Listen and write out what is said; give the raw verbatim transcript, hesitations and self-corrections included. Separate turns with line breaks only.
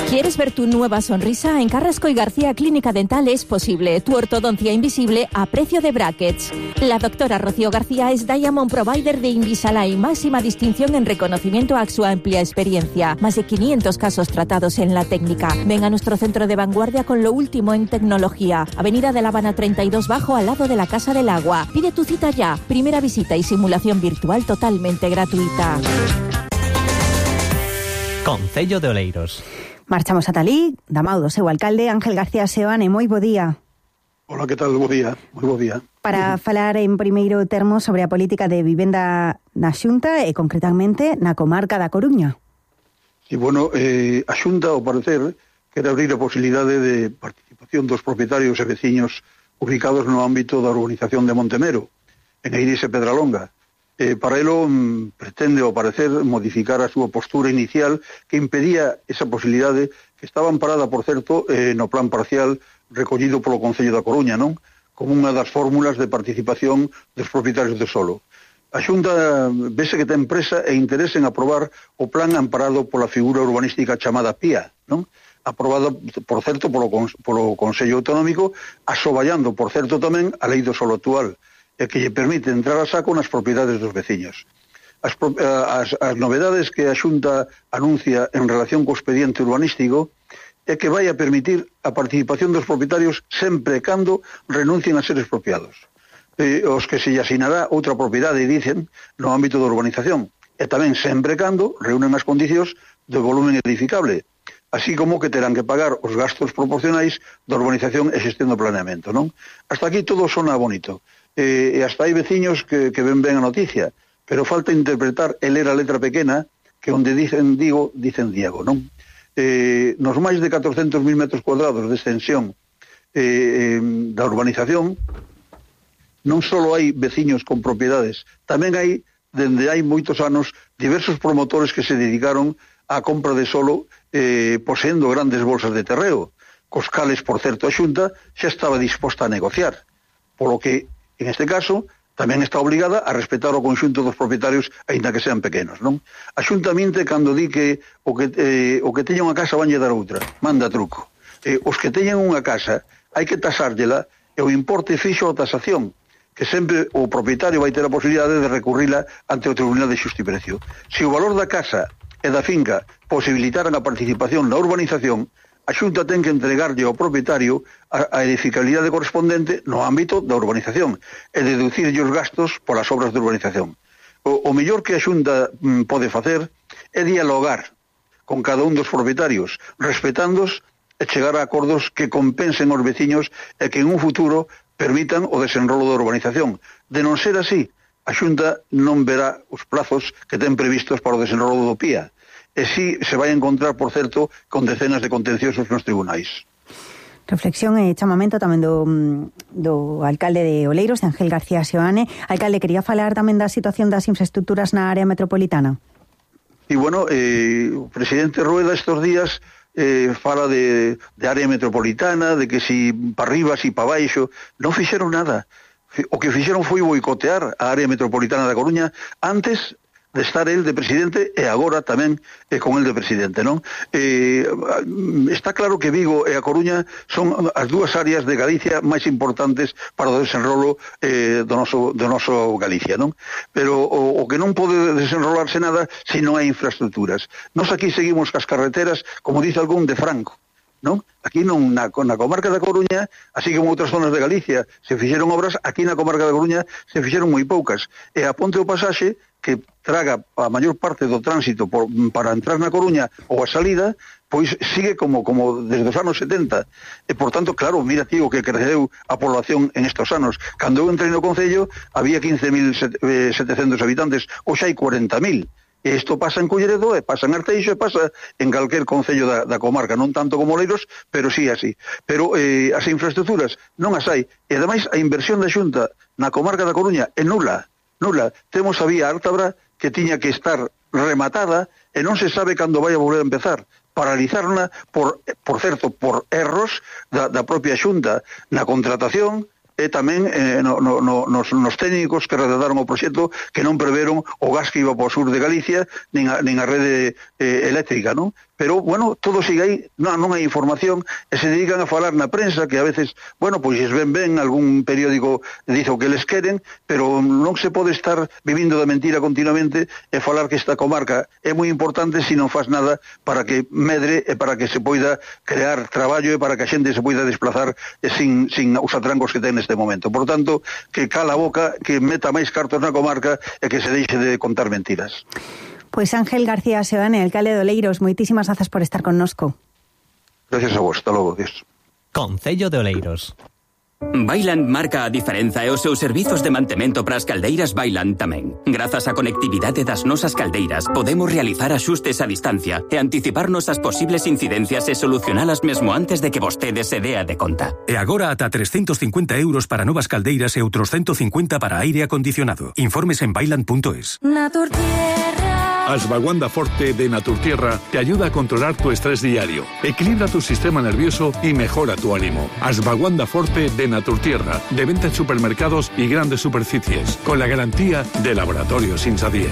¿Quieres ver tu nueva sonrisa? En Carrasco y García Clínica Dental es posible. Tu ortodoncia invisible a precio de brackets. La doctora Rocío García es Diamond Provider de Invisalign, máxima distinción en reconocimiento a su amplia experiencia. Más de quinientos casos tratados en la técnica. Ven a nuestro centro de vanguardia con lo último en tecnología. Avenida de La Habana treinta y dos Bajo, al lado de la Casa del Agua. Pide tu cita ya. Primera visita y simulación virtual totalmente gratuita.
Concello de Oleiros.
Marchamos a Talí, damao do seu alcalde Ángel García Seoane. Moi bo día.
Hola, que tal? Bo día, moi bo día.
Para uh-huh. falar en primeiro termo sobre a política de vivenda na Xunta e concretamente na comarca da Coruña.
Sí, bueno, eh, a Xunta, ao parecer, quere abrir a posibilidade de participación dos propietarios e veciños ubicados no ámbito da urbanización de Montemero, en Eiris e Pedralonga. Eh, para elo mm, pretende, ao parecer, modificar a súa postura inicial que impedía esa posibilidade que estaba amparada, por certo, eh, no plan parcial recollido polo Concello da Coruña, non? Como unha das fórmulas de participación dos propietarios de solo. A Xunta vese que ten presa e interese en aprobar o plan amparado pola figura urbanística chamada P I A, non? Aprobada, por certo, polo, polo Consello Autonómico, asoballando, por certo, tamén a lei do solo actual, e que lle permite entrar a saco nas propiedades dos veciños. As, as, as novedades que a Xunta anuncia en relación co expediente urbanístico é que vai a permitir a participación dos propietarios sempre e cando renuncien a ser expropiados. Eh, os que se lle asinará outra propiedade, dicen, no ámbito da urbanización, e tamén sempre e cando reúnen as condicións do volumen edificable, así como que terán que pagar os gastos proporcionais da urbanización e xestión do planeamento, non? Hasta aquí todo sona bonito. Eh, e hasta hai veciños que, que ven ben a noticia, pero falta interpretar e ler a letra pequena que onde dicen Digo, dicen Diego, non? Eh, nos máis de catrocentos mil metros cuadrados de extensión eh, da urbanización non só hai veciños con propiedades, tamén hai, dende hai moitos anos, diversos promotores que se dedicaron á compra de solo eh, poseendo grandes bolsas de terreo, cos cales, por certo, a Xunta xa estaba disposta a negociar, polo que en este caso, tamén está obligada a respetar o conxunto dos propietarios, aínda que sean pequenos, non? A Xunta minte cando di que o que, eh, o que teña unha casa vanlle dar outra, manda truco. Eh, os que teñan unha casa, hai que tasárllela e o importe fixo a tasación, que sempre o propietario vai ter a posibilidade de recurrila ante o Tribunal de Xusta e Precio. Se o valor da casa e da finca posibilitaran a participación na urbanización, a Xunta ten que entregarlle ao propietario a, a edificabilidade correspondente no ámbito da urbanización e deducirlle os gastos polas obras de urbanización. O, o mellor que a Xunta mm, pode facer é dialogar con cada un dos propietarios, respetándos e chegar a acordos que compensen os veciños e que en un futuro permitan o desenrolo da urbanización. De non ser así, a Xunta non verá os plazos que ten previstos para o desenrolo do P I A. E si se vai encontrar, por certo, con decenas de contenciosos nos tribunais.
Reflexión e chamamento tamén do, do alcalde de Oleiros, de Ángel García Seoane. Alcalde, quería falar tamén da situación das infraestructuras na área metropolitana.
E, bueno, eh, o presidente Rueda estes días eh, fala de, de área metropolitana, de que si para arriba, si para baixo, non fixeron nada. O que fixeron foi boicotear a área metropolitana da Coruña antes de estar el de presidente e agora tamén eh, con el de presidente, non? Eh, está claro que Vigo e a Coruña son as dúas áreas de Galicia máis importantes para o desenrolo eh, do, noso, do noso Galicia, non? Pero o, o que non pode desenrolarse nada se non hai infraestructuras. Nos aquí seguimos cas carreteras, como dice algún, de Franco, non? Aquí non, na, na comarca da Coruña, así como outras zonas de Galicia, se fixeron obras, aquí na comarca da Coruña se fixeron moi poucas. E a ponte o pasaxe, que traga a maior parte do tránsito por, para entrar na Coruña ou a salida, pois sigue como, como desde os anos setenta. E, por tanto, claro, mira, tío, que creceu a población en estos anos. Cando eu entrei no Concello, había quince mil setecentos habitantes, hoxe hai cuarenta mil. E isto pasa en Culleredo, e pasa en Arteixo, e pasa en calquer concello da, da comarca, non tanto como Oleiros, pero sí así. Pero eh, as infraestructuras non as hai. E ademais a inversión da Xunta na comarca da Coruña é nula, nula. Temos a vía Ártabra que tiña que estar rematada e non se sabe cando vai a volver a empezar. Paralizarna, por, por certo, por erros da, da propia Xunta na contratación, e tamén eh, no, no, no, nos, nos técnicos que redactaron o proxecto que non preveron o gas que iba para o sur de Galicia nin a, nin a rede eh, eléctrica, non? Pero, bueno, todo sigue aí, non, non hai información, e se dedican a falar na prensa, que a veces, bueno, pois ven ben, algún periódico dice o que les queren, pero non se pode estar vivindo da mentira continuamente e falar que esta comarca é moi importante se non faz nada para que medre e para que se poida crear traballo e para que a xente se poida desplazar sin, sin os atrancos que ten neste momento. Por tanto, que cala a boca, que meta máis cartos na comarca e que se deixe de contar mentiras.
Pois Ángel García Seoane, alcalde de Oleiros, moitísimas grazas por estar connosco.
Gracias a vos, hasta logo, Dios.
Concello de Oleiros.
Vaillant marca a diferenza e os seus servizos de mantemento para as caldeiras Vaillant tamén. Grazas á conectividade das nosas caldeiras, podemos realizar axustes a distancia e anticiparnos as posibles incidencias e solucionalas mesmo antes de que vostede se dea de conta.
E agora ata trescentos cincuenta euros para novas caldeiras e outros ciento cincuenta para aire acondicionado. Informes en vaillant punto es.
Ashwagandha Forte de Naturtierra te ayuda a controlar tu estrés diario, equilibra tu sistema nervioso y mejora tu ánimo. Ashwagandha Forte de Naturtierra, de venta en supermercados y grandes superficies, con la garantía de Laboratorios Insadier.